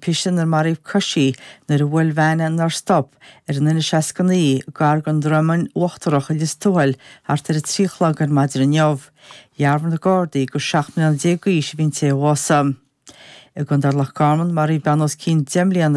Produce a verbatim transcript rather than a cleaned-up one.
timpiste inar maraíodh coisí nuair a bhuail veain nár stop ar an N seasca naoi gar don Dromainn Uachtarach i Lios Tuathail thart ar a trí a chlog ar maidin inniu. Dhearbhaigh na Gardaí gur seacht mbliana déag d'aois a bhí an té a bhásaigh. I gContae Loch Garman maraíodh bean os cionn deich mbliana